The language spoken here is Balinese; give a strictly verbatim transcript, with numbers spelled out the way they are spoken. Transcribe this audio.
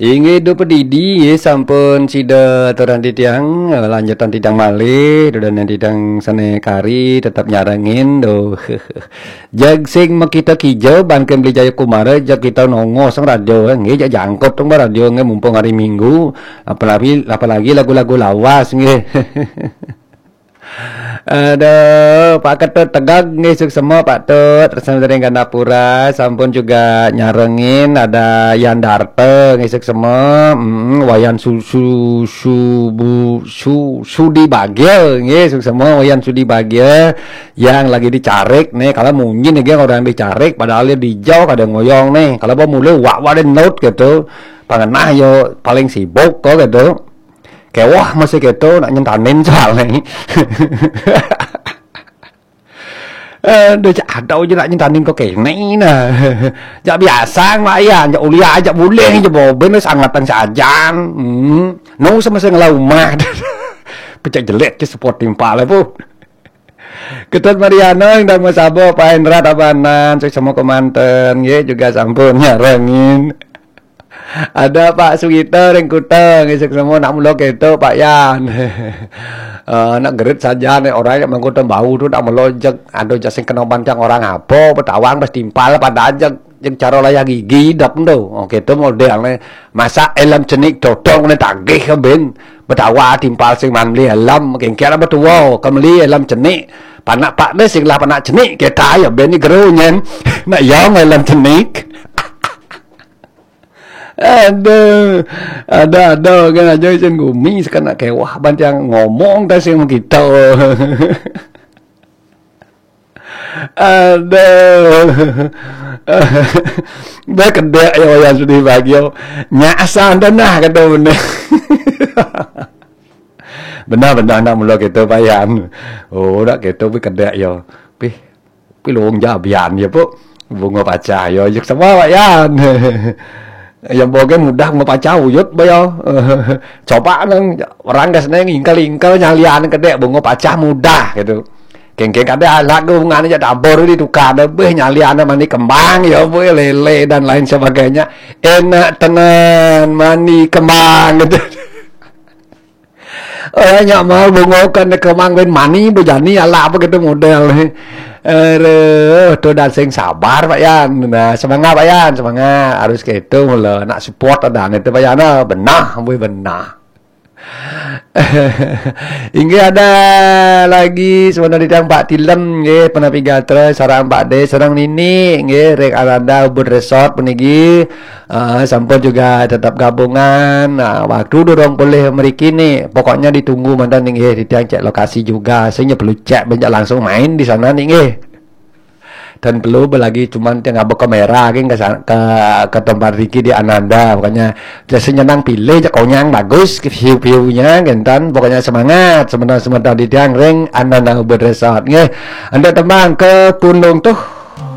Inggih, duh pedidi, nggih, sampun sida aturang titiang, eh, lanjutan titiang malih, dudonan titiang sané kari tetep nyarengin, duh. Jag sing makita kija, ban ké Beli Jaya Kumara, jag kita nongos sang radio, eh, nggih, jag jangkut tong radio, nggih, mumpung hari Minggu, apalagi, apalagi lagu-lagu lawas, nggih. Aduh, Pak Ketut Tegag nggih, suksema Pak Tut, tresna ring Gandapura, sampun juga nyarengin, ada Yan Darta nggih, suksema, mm, Wayan Su, Su, Subu, Su, Sudi Bagya nggih, suksema Wayan Sudi Bagya yang lagi dicarik nih, kalau munyin nih orang dicarik, padahal dia dijauh kada ngoyong nih, kalau mau mulai wak wak note gitu, pangenah yo paling sibuk kok gitu. Kéweh masih kéto nak nyentanin soalnya. Aduh, cak ada aja nak nyentanin kok kéné nah. Jak biasa, Mak Yan, jak uliah, jak buling, jak boben, wis angatan sajan. Hmm. No sama sing ngelah umah. Pecak jelek ke support timpal, Bu. Ketut Mariana, Indang Masabo, Pak Hendra Tabanan, suksema kemanten, nggih, juga sampun nyarengin. Ada Pak Sugito ring Kuta, nggih, suksema nak mula kéto, Pak Yan. Eh, nak gerit saja nih, orang yang mangkuta bau tu nak mula jeg, ada jas sing kena bantang orang apa, betawang pas timpal pada jeg, jeg cara layah gigi dap tu. Oh, kéto model nih. Masa elem cenik totong nih tagih ke ben. Betawa timpal sing man beli elem, kengkian apa tua, kemeli elem cenik. Panak pak deh sing lah panak cenik, kita ya ben ni geru nyen. Nak yang elem cenik. Aduh, ada-ada kan aja isin gumi, sekanak kéweh bantang ngomong dah sing kita. Aduh. Dah kedek ya Wayan Sudi Bagio. Nyak asal dah nah kata bener. Benar-benar nak mula kita Pak Yan. Oh, nak kita pi kedek ya. Pi, pi lung jabian ya, Bu. Bunga pacah ya, yuk semua Pak Yan. Yang boge mudah bunga pacah uyut ba ya. Coba nang orang gas neng ingkel-ingkel nyalian kedek bunga pacah mudah gitu. Kengkeng kada alat tu bunga ni jak tabur di tukar deh, beh, nyalian mani kembang ya, Bu, lele dan lain sebagainya. Enak tenan mani kembang gitu. Oh, nyak mau bunga kan kembang ben mani bejani ala apa gitu model ni. Aduh, tu dah sing sabar Pak Yan. Nah, semangat Pak Yan, semangat. Harus gitu mula nak support ada itu Pak Yan. Ah, benah, weh benah. Inggih ada lagi sebenarnya tiang Pak Tilem nggih, penapi gatra sareng Pak De sareng Nini nggih, ring Ananda Ubud Resort puniki. Ah, sampun juga tetap gabungan. Nah, waktu durung boleh mriki nih. Pokoknya ditunggu mantan nih nggih, tiang cek lokasi juga. Sehingga perlu cek banyak langsung main di sana nih nggih. Dan perlu lagi cuman tiang ngaba kamera geng ke, sa- ke ke tempat Ricky di Ananda. Pokoknya jadi nyenang pilih je konyang bagus ke view-view-nya gentan. Pokoknya semangat sebentar-sebentar di tiang ring Ananda Ubud Resort nggih. Anda tembang ke Pundung tuh